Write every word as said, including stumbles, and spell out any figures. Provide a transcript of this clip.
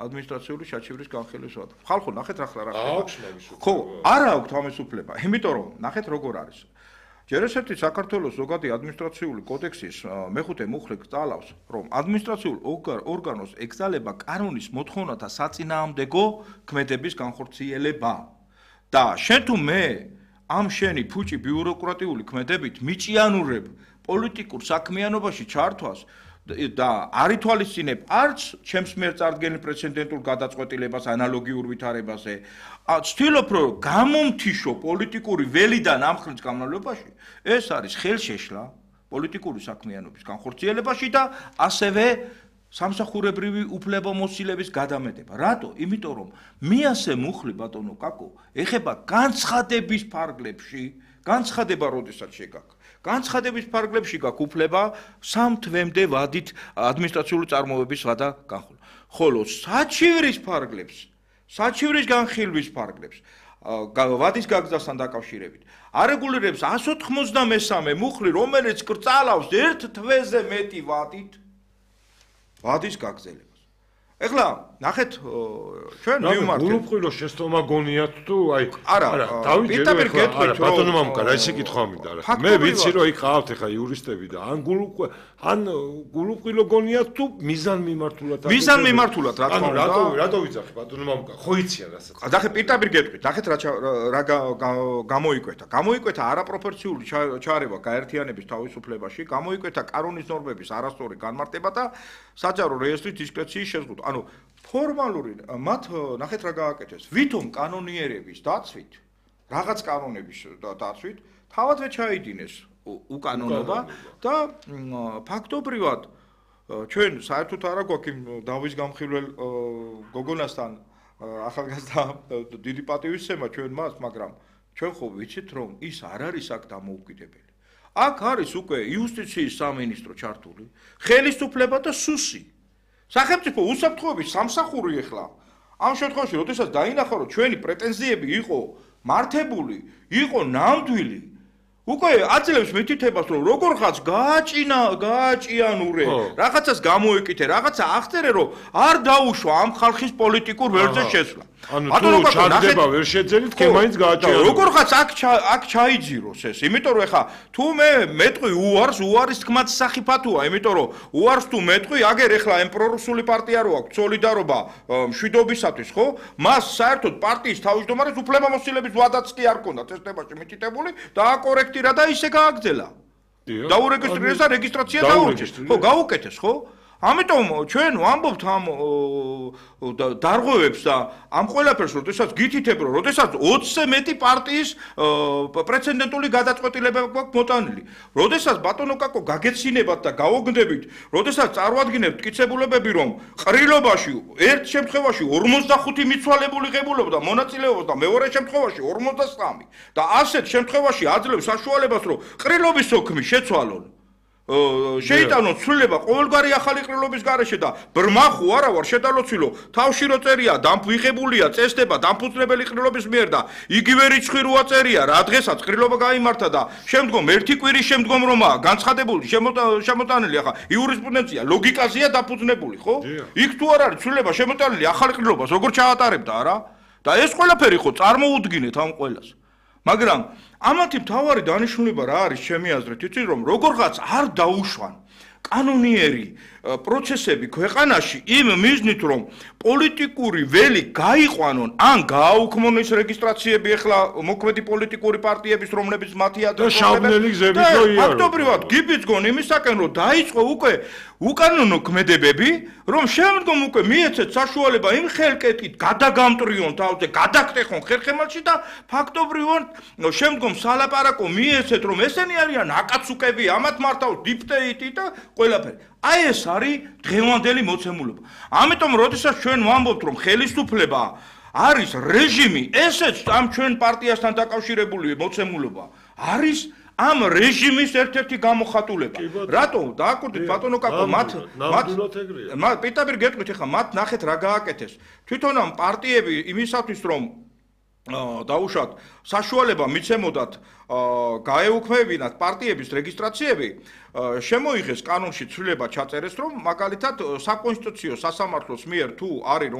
ადმინისტრაციული საჩივრის განხილვის ვადა. ხალხო, ნახეთ რა ხდება. აქვს მაგის უფლება. ხო, არ აქვს ამის უფლება. იმიტომ რომ ნახეთ როგორ არის. ჯერ ერთ ერთი საქართველოს ზოგადი ადმინისტრაციული კოდექსის მეხუთე მუხლი გწალავს, რომ ადმინისტრაციულ ორგანოს ეკრძალება კანონის მოთხოვნათა საწინააღმდეგო ქმედების განხორციელება. და შენ თუ მე ამ შენი ფუჭი ბიუროკრატიული ქმედებით მიჭიანურებ პოლიტიკურ საქმიანობაში ჩართვას და არ ითვალისწინებ არც ჩემს მიერ წარდგენილ პრეცედენტულ გადაწყვეტილებას ანალოგიურ ვითარებაზე, ვცდილობ რომ გამომთიშო პოლიტიკური ველიდან ამ ხნის განმავლობაში, ეს არის ხელშეშლა პოლიტიკური საქმიანობის განხორციელებაში და ასევე სამსახურებრივი უფლებამოსილების გადამეტება. რატო? იმიტომ რომ მე ასე მუხლი ბატონო კაკო, ეხება განცხადების ფარგლებში, განცხადება როდესაც შეგაქვს. განცხადების ფარგლებში გაქვს უფლება სამ თვემდე ვადით ადმინისტრაციული წარმოების ვადა განხილვა. ხოლო საჩივრის ფარგლებს, საჩივრის განხილვის ფარგლებს ვადის გაგზასთან დაკავშირებით არეგულირებს εκατს ოცდამესამე მუხლი, რომელიც კრძალავს ერთ თვეზე მეტი ვადით ვადის გაგზელებას. ეხლა ნახეთ ჩვენ მივმართეთ. გულუყვილო შეცდომა გონიათ თუ აი არა, პირდაპირ გეტყვით რომ ბატონო მამუკა რა ისე კითხვა მინდა რა. მე ვიცი რომ იქ ყავთ ეხა იურისტები და ან გულუყვილო ან გულუყვილო გონიათ თუ მიზან მიმართულად. მიზან მიმართულად რა თქმა უნდა. რატო რატო ვიცახი ბატონო მამუკა ხო იციან რასაც. ნახე პირდაპირ გეტყვით. ნახეთ რა რა გამოიკვეთა. გამოიკვეთა არაპროპორციული ჩარევა გაერთიანების თავისუფლებაში, გამოიკვეთა კანონის ნორმების არასწორი განმარტება და საჯარო რეესტრის დისკრეციის შეზღუდვა. ანუ ფორმალური მათ ნახეთ რა გააკეთეს. ვითომ კანონიერების დაცვით, რაღაც კანონების დაცვით, თავადვე ჩაიდინეს უკანონობა და ფაქტობრივად ჩვენ საერთოდ არა გვაქვს იმ დავის გამხილველ გოგონასთან ახალგაზრდა დიდი პატივისცემა ჩვენ მას, მაგრამ ჩვენ ხო ვიცით რომ ის არ არის აქ დამოუკიდებელი. აქ არის უკვე იუსტიციის სამინისტრო ჩართული, ხელისუფლება და სუსი. სახელმწიფო უსაფრთხოების სამსახური ეხლა ამ შემთხვევაში, როდესაც დაინახა რომ ჩვენი პრეტენზიები იყო მართებული, იყო ნამდვილი, უკვე აძლევს მითითებას რომ როგორღაც გააჭინა, გააჭიანურე, რაღაცას გამოეკითხე, რაღაცა აღწერე რომ არ დაუშვა ამ ხალხის პოლიტიკურ ველზე შესვლა. ანუ თუ ჩარდება ვერ შეძენით, კი მაინც გააჭიანურე. როგორღაც აქ აქ ჩაიძიროს ეს, იმიტომ რომ ეხა თუ მე მეტყვი უარს, უარის თქმაც სახიფათოა, იმიტომ რომ უარს თუ მეტყვი, აგერ ეხლა ამ პრორუსული პარტია რო აქვს სოლიდარობა მშვიდობისათვის, ხო? მას საერთოდ პარტიის თავმჯდომარეს უფლებამოსილების ვადაც კი არ ჰქონდა წესდებაში მითითებული და აკორექტირა და ისე გააგრძელა. დაურეგისტრირეს და რეგისტრაცია დაურჩეს. ხო, გაუკეთეს, ხო? ამიტომ ჩვენ ვამბობთ ამ დარღვევებს და ამ ყველაფერს, როდესაც გითითებ, რომ როდესაც ოცზე მეტი პარტიის პრეცედენტული გადაწყვეტილება გვაქვს მოტანილი. როდესაც ბატონო კაკო გაგეცინებათ და გავოგნდებით, როდესაც წარმოადგენთ მტკიცებულებები, რომ ყრილობაში ერთ შემთხვევაში ორმოცდახუთი მიცვალებული ღებულობდა მონაწილეობას და მეორე შემთხვევაში ორმოცდასამი და ასეთ შემთხვევაში აძლევს საშუალებას, რომ ყრილობის სოქმი შეცვალონ. შეიტანონ ცვლილება ყოველგვარი ახალი ყრილობის გარეშე და ბრმა ხო არა ვარ შედალოცილო თავში რო წერია დამფუღებულია წესდება დამფუძნებელი ყრილობის მიერ და იგივე რიცხვი როა წერია რა დღესაც ყრილობა გაიმართა და შემდგომ ერთი კვირის შემდგომ რომაა განცხადებული შემოტანილი ახლა იურისპრუდენცია ლოგიკაზეა დაფუძნებული ხო იქ თუ არ არის ცვლილება შემოტანილი ახალი ყრილობას როგორ ჩაატარებდა არა და ეს ყველაფერი ხო წარმოუდგინეთ ამ ყველას მაგრამ ამათი მთავარი დანიშნულება რა არის ჩემი აზრით იცი რომ როგორღაც არ დაუშვან კანონიერი პროცესები ქვეყანაში იმ მიზნით რომ პოლიტიკური ველი გაიყვანონ ან გააუქმონ ეს რეგისტრაციები ეხლა მოქმედი პოლიტიკური პარტიების რომლებიც მათი ადრესები ფაქტობრივად გიბიძგონ იმისაკენ რომ დაიწყო უკვე უკანონო ქმედებები რომ შემდგომ უკვე მიეცეთ საშუალება იმ ხელკეტით გადაგამტრიონ თავზე გადაგტეხონ ხერხემალში და ფაქტობრივად შემდგომ სალაპარაკო მიეცეთ რომ ესენი არიან აკაცუკები ამათ მართავს დიფტეიტი და ყველაფერი აი ეს არის დღევანდელი მოცემულობა. ამიტომ როდესაც ჩვენ ვამბობთ რომ ხელისუფლება არის რეჟიმი, ესეც ამ ჩვენ პარტიასთან დაკავშირებული მოცემულობა არის ამ რეჟიმის ერთ-ერთი გამოხატულება. რატო? დააკვირდით ბატონო კაკო, მათ მათ პირდაპირ გეტყვით ახლა მათ ნახეთ რა გააკეთეს. თვითონ ამ პარტიები იმისათვის რომ დაუშვათ საშუალება მიცემოდათ გაეუქმებინათ პარტიების რეგისტრაციები შემოიღეს კანონში ცვლილება ჩაწერეს რომ მაგალითად საკონსტიტუციო სასამართლოს მიერ თუ არის